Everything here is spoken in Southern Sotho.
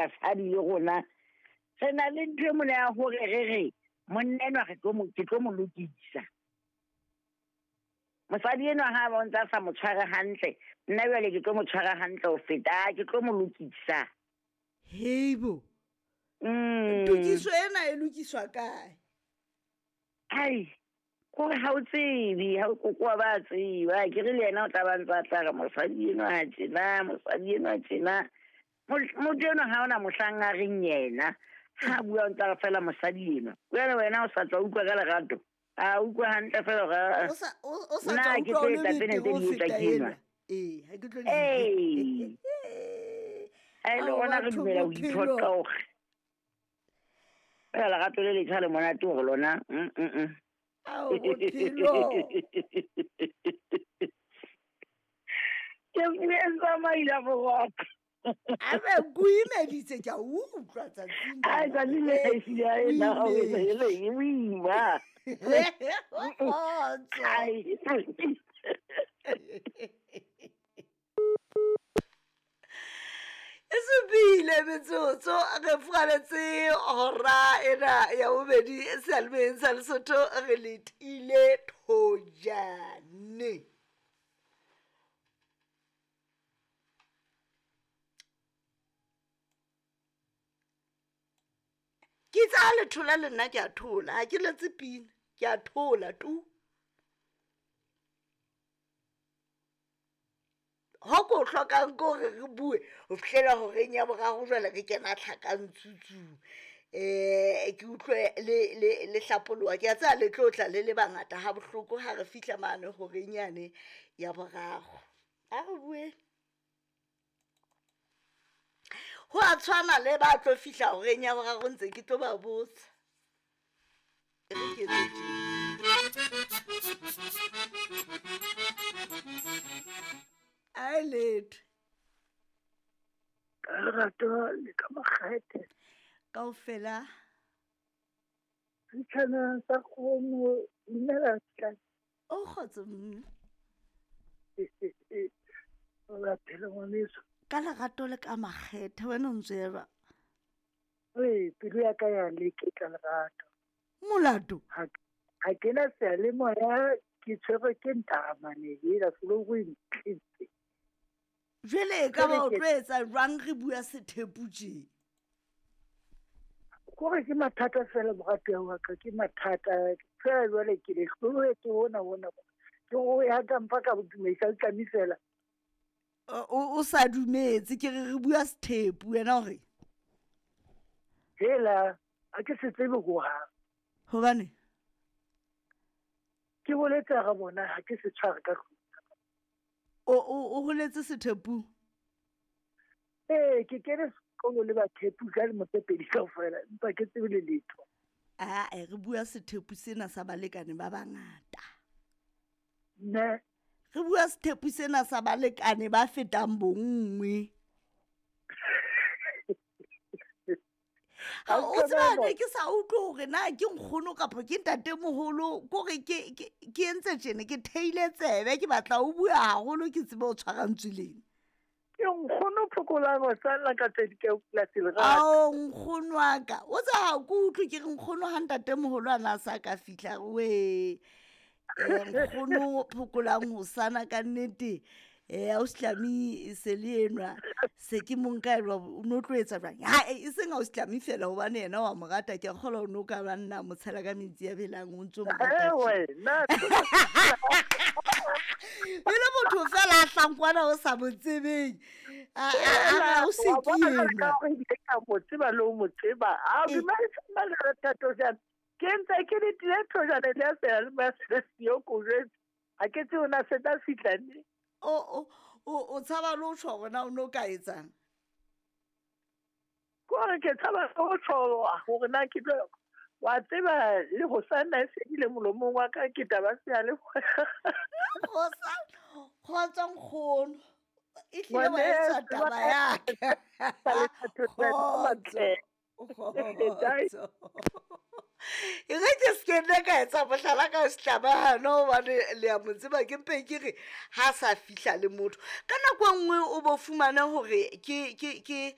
Basadi le rona re na le ntho e mona ya hore re re monna enwa re tlo mo ke tlo mo lokisa. Mosadi enwa ha ba o ntsa sa mo tshware hantle, nna jwale ke tlo mo tshwara hantle ho feta, ke tlo mo lokisa. Heibo. Tokiso ena e lokiswa kae? Ai, kore ha o tsebe, ha o kokoa ba tseba. Ke re le yena o tla ba ntsa tla re mosadi enwa ha tjena, mosadi enwa tjena. Motho enwa ha ona mohlang a reng yena. Ha bua o ntsa re fela mosadi enwa. Jwale wena o sa tswa utlwa ka lerato. A utlwa hantle fela hore O sa o sa nna tswa ke utlwa tlo o le etsa tsena betere tse ho di etswa feta ke enwa. enwa. Ee, ha ke tlo Ee. Ha e le Ao rona re batho dumela ho bophelo. iphoqa hore fela lerato le letjha le monate hore lona. Ao bophelo. Ke tsamaile boroko. Abe ko imeditse ke a utlwa tsatsing Ai, lena. tsatsi le Eh, ehlile a o ena o imetse. e boima. Kgotso. Ai. E supile metsotso re furaletse hora ena ya bobedi seyalemoyeng sa Lesotho re letile thojane. Ke itse ha le thola le nna ke a thola, ha ke letse pina, ke a thola tu. Ho ko hlokang ke hore re bue ho fihlela horeng ya boraro jwale re kena tlhakantsutsung. Ke utlwe le hlapoloha, ke a tseba le tlo tla le le bangata ha bohloko ha re fihla mane horeng yane ya boraro. A re bue. Ho a tshwana le ba tlo fihla horeng ya boraro ntse ke tlo ba botsa. E re ke etse tje. Ai letho. Ka lerato le ka makgethe. Kaofela. Setjhana sa kgomo, dumela tla. O kgotso mme. O la phela ngwaneso. Ka lerato le ka makgethe wena o ntse eba. Ee, pelo ya ka ya leketla lerato. Molato? Ha ke na seyalemoya ke tshwerwe ke ntaramane ela soloku e ntletse. Jwale e ka ba o tlo etsa jwang re bua sethepu tje? Kore ke mathata fela moratuwa wa ka, ke mathata. Fela jwale ke le hlolohetse hona hona. Ke o ya ka mpa ka dumedisa o tlame fela. O sa dumetse ke re re bua sethepu wena hore? Hela, ha ke se tsebe hohang. Hobane? Ke boletse hara bona ha ke se tshware ka tlung. O holetse sethepung? Ee, ke kene sekolo le bathepu ka lemo tse pedi kaofela, empa ke tsebe le letho. Ae, re bua sethepu sena sa balekane ba bangata. Ne. Re bua sethepu sena sa balekane ba fetang bonngwe. Ha o tseba ne ke sa utlwe hore na ke nkgono kapa ke ntatemoholo, kore ke entse tjena, ke theile tsebe, ke batla o bua haholo ke tsebe ho tshwara ntswe lena. Ke nkgono phokolang ho salla ka tse di ka polasing lerato. Ao, nkgono wa ka. O tseba ha ke utlwe ke re nkgono ha ntatemoholo a na sa ka fihla, we. Nkgono phokolang ho sana ka nnete. Ausi Tlami se le enwa, se ke mo nka elwa, o no tlo etsa jwang? Ha, e seng Ausi Tlami fela hobane yena wa mo rata, ke a kgolwa o no ka ba nna mo tshela ka metsi a belang, o ntso mo rata Eh, tje. wena. E le motho fela a hlankwana o sa mo tsebeng. A o se Wa ke bona enwa. ka hore ebile ke a mo tseba le ho mo tseba. A Eh. dumedisa nna le Thato jana. Ke ntse ke le tlile thojana le ya seyalemoya se le siyo ko jwetse. Ha ke tsebe na se tla fihla neng. O tshaba le ho tjho hore na o no ka etsang? Ke hore ke tshaba le ho tjho hore na ke tlo, wa tseba le ho sanna e fedile molomong wa ka ke taba seyalemoya. Kgotso nkgono. E hlile wa etsa Ngwaneso, taba ya ka. Kgotso. Kgotso. E re ke se ke nne ka etsa mohlala ka setlabahano hobane le a mo tseba, ke mpe ke re ha sa fihla le motho. Ka nako e nngwe o bo fumane hore ke.